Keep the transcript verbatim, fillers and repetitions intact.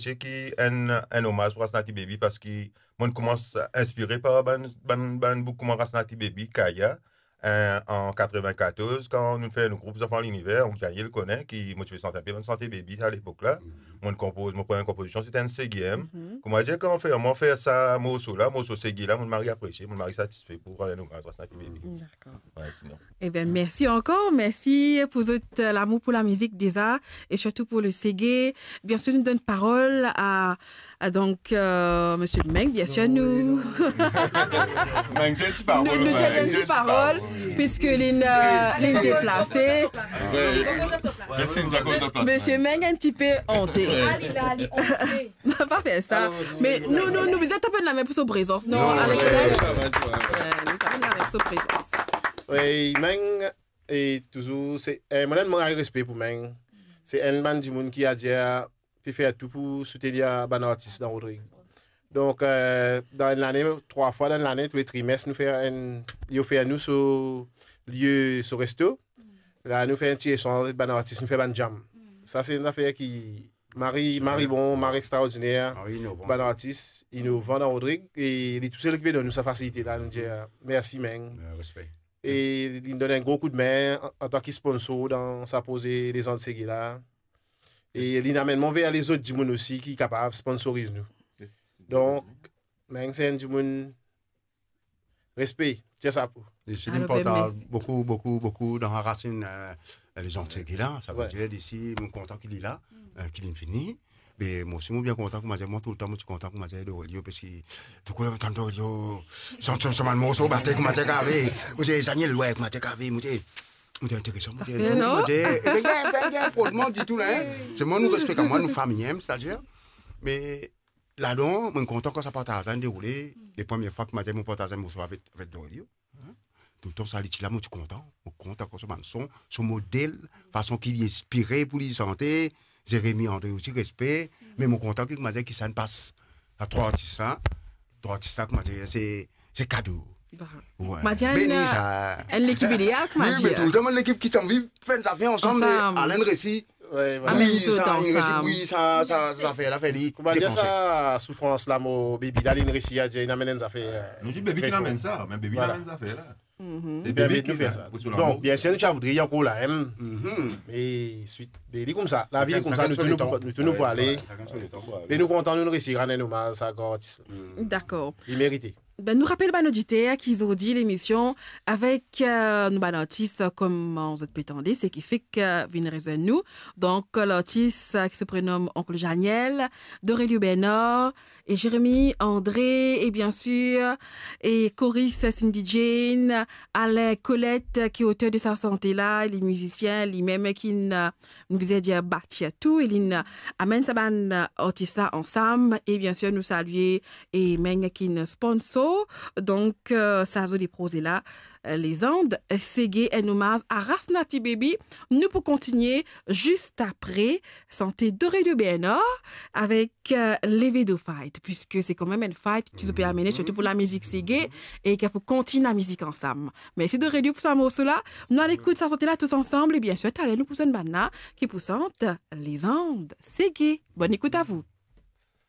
ki enn, enn omaz pou Rasnaty Baby, parski mo'nn koumans inspire par bann, bann, bann boug kouma Rasnaty Baby, Kaya, eh, an katreven-katorz, kan nou fer nou group Zanfan Liniver, Onk Daniel kone, ki mo ti pe sant enpe bann sante Baby a lepok la. Mo'nn konpoz, mo premie konpozision, se ti enn sege. Kouma dir, kan fer, mo fer sa morso la, morso sege la, mo'nn mari apresie, mo'nn mari satisfe pou rann enn omaz Rasnaty Baby. Dakor. Wi, sinon. Ebien, mersi ankor. Mersi pou zot, euh, lamour pou lamizik deza e sirtou pou le sege. Biensir, nou donn parol a, a, donk, euh, Misie Meng, biensir, nou... Meng, dir enn ti parol, nou, nou dir enn ti parol, piski li, euh, li deplase. Wi. Mersi, nou dir enn ti parol. Misie Meng enn tipe ante. Wi. Ah, li la, li ante. Pa fer sa. Me nou, nou, nou bizin tap enn lame pou so prezans, non, Alex? Wi, nou tap enn lame pou so prezans. Wi, Meng, e touzour, se, eh, mo ena enn gran respe pou Meng. Se enn bann dimoun ki, adir, pe fer tou pou soutenir bann artis dan Rodrig. Donk, eh, dan enn lane, trwa fwa dan enn lane, toule trimes, nou fer enn, li ofer nou so lie, so resto. La, nou fer enn ti esanz avek bann artis, nou fer bann jam. Sa, se enn zafer ki mari, mari bon, mari extraordiner, mari inovan, bann artis inovan dan Rodrig, e li tousel ki pe donn nou sa fasilite la, nou dir mersi, Meng. Wi, respe. E li donn enn gro koudme an, antan ki sponsor dan sa proze Lezand Sege la. E li amenn mwa ver lezot dimoun osi ki kapav sponsoriz nou. Donk, Meng se enn dimoun respe, tir sapo. Li osi, li partaz boukou, boukou, boukou dan rasinn, eh, Lezand Sege la. Savedir, li osi, mo kontan ki li la, eh, ki li vini. Me mo osi, mo bien kontan, kouma dir, mo toultan, mo ti kontan, kouma dir, Dorelio, parski tou kou la mo tann Dorelio, sant so, so bann morso, bate, kouma dir, kave. Mo dir, Daniel, wi, kouma dir, kave, mo dir, mo dir, interesan, mo dir, mo dir, e, e, e, frodman ditou la, hein. Se mwa, nou respekte mwa, nou fami, hein, setadir. Me ladan, mo kontan kan sa partaz la deroule. Le premie fwa ki mo dir mo partaz enn morso avek, avek Dorelio. Hein? Toultan sa li ti la, mo ti kontan. Mo kontan kan so bann son, so model, fason ki li inspire pou li sante, Jérémy André osi, respe. Me mo kontan ki, kouma dir, ki sa inn pas a trwa artis la. Trwa artis la, kouma dir, se, se kado. Ba. Wi. Kouma dir, beni enn, sa, enn lekip ideal, kouma dir. Wi, me toultan bann lekip ki ti anvi fer enn zafer ansam, me ansam. Alen resi. Wi, vwala. Amenn zot sa, ansam. Wi, sa, sa, sa zafer la fer li depanse. Kouma dir sa, soufrans la, mo Baby la, li resi a dir, li amenn enn zafer, eh, tre for. Nou dir Baby ki amenn sa, me Baby amenn zafer la. Se Baby ki fer sa. Donk, biensir, nou ti a voudri ankor la, hein. Me swit, be li koumsa, lavi li koumsa, nou tou nou pou ale. Vwala, sakenn so letan pou ale. Me nou kontan, nou resi rann enn omaz sa gran artis la. Dakor. Li merite. Be, nou rapel bann oditer ki zordi lemision avek, eh, nou bann artis, kouma zot pe tande, seki fek, eh, vinn rezwenn nou. Donk, lartis, eh, ki se prenom Oncle Janiel, Dorelio Bernard, e Jérémy André, e biensir, e koris Cindy Jane, Alain Colette, ki oter de sa sante la, li mizisien, limem ki inn, nou bizin dir, batir tou, e li inn amenn sa bann artis la ansam, e biensir, nou salie e Meng ki inn sponsor, donk, eh, sa zoli proze la, eh, Lezand Sege, enn omaz a Rasnaty Baby. Nou pou kontinie zis apre sante Dorelio Bernard avek, eh, Levedo Fight, piski se kanmem enn fight ki zot pe amene, sirtou pou lamizik sege, e ki pou kontign lamizik ansam. Mersi Dorelio pou sa morso la. Nou al ekout sa sante la tous ansanm, e biensir, taler nou pou zwenn bann la ki pou sant Lezand Sege. Bonn ekout a vou.